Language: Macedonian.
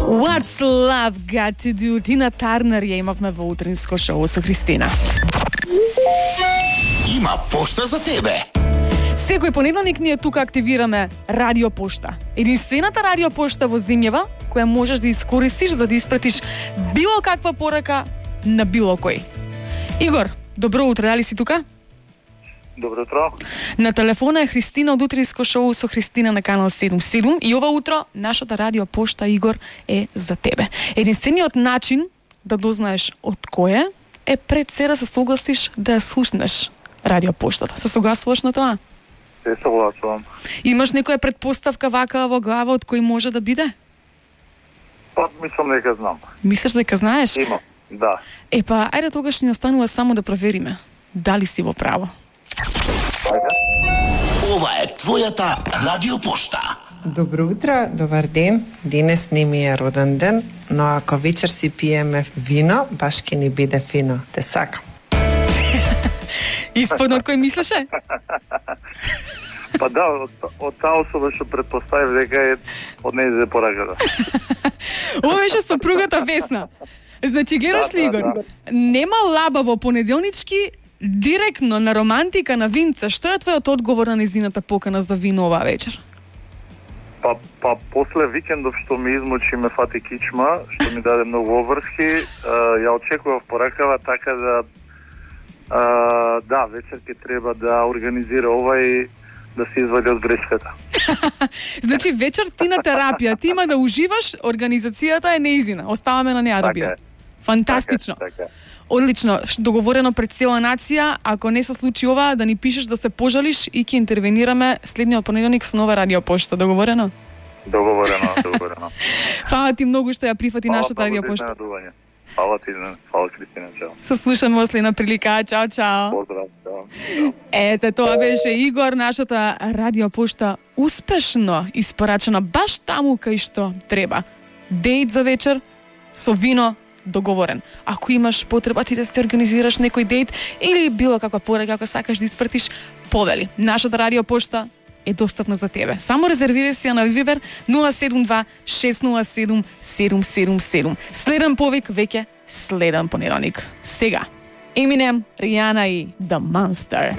What's love got to do? Тина Тарнер ја имавме во утринско шоу со Христина. Има пошта за тебе. Секој понеделник ние тука активираме радио пошта. Единствената радио пошта во земјава која можеш да искористиш за да испратиш било каква порака на било кој. Игор, добро утро, дали си тука? Добро утро. На телефона е Христина од утринско шоу со Христина на канал 77 и ова утро нашата радио пошта, Игор, е за тебе. Единствениот начин да дознаеш од кој е пред се да се согласиш да ја слушнеш радио поштата. Се согласуваш на тоа? Се согласувам. Имаш некоја предпоставка вака во глава од кој може да биде? Па, мислам дека знам. Мислиш дека знаеш? Има, да. Епа, ајде тогаш ни останува само да провериме дали си во право. Ова е твојата радиопошта. Добро утро, добар ден. Денес не ми е роден ден, но ако вечер си пиеме вино, баш ќе ни биде фино. Те сакам. Исподно од кој мислеше? Па да, од таа особа што предпоставив дека е од нејзе пораката. Ова беше сопругата Весна. Значи, гледаш ли, Игор? Нема лаба во понеделнички, директно на романтика на винца. Што е твојот одговор на незината покана за вино оваа вечер? Па после викендов што ми измучи ме фати кичма, што ми даде многу обврски, ја очекував поракава така да, вечер ќе треба да организира ова и да се извади од грешката. Значи, вечер ти на терапија, ти има да уживаш, организацијата е неизина. Оставаме на неа да биде. Фантастично. Така. Одлично, договорено пред цела нација. Ако не се случи ова, да ни пишеш да се пожалиш и ќе интервенираме следниот понеделник со нова радио пошта. Договорено? Договорено. Фала ти многу што ја прифати нашата радио пошта. Фала ти, фала Кристина, чао. Се слушаме во следна прилика. Чао, чао. Поздрав, чао. Ете, тоа беше Игор, нашата радио пошта успешно испорачена баш таму кај што треба. Дејт за вечер со вино договорен. Ако имаш потреба ти да се организираш некој дејт или било каква порака, ако сакаш да испратиш, повели. Нашата радио пошта е достапна за тебе. Само резервирај си ја на Viber 072 607 777. Следен повик веќе следен понеделник. Сега Eminem, Rihanna и The Monster.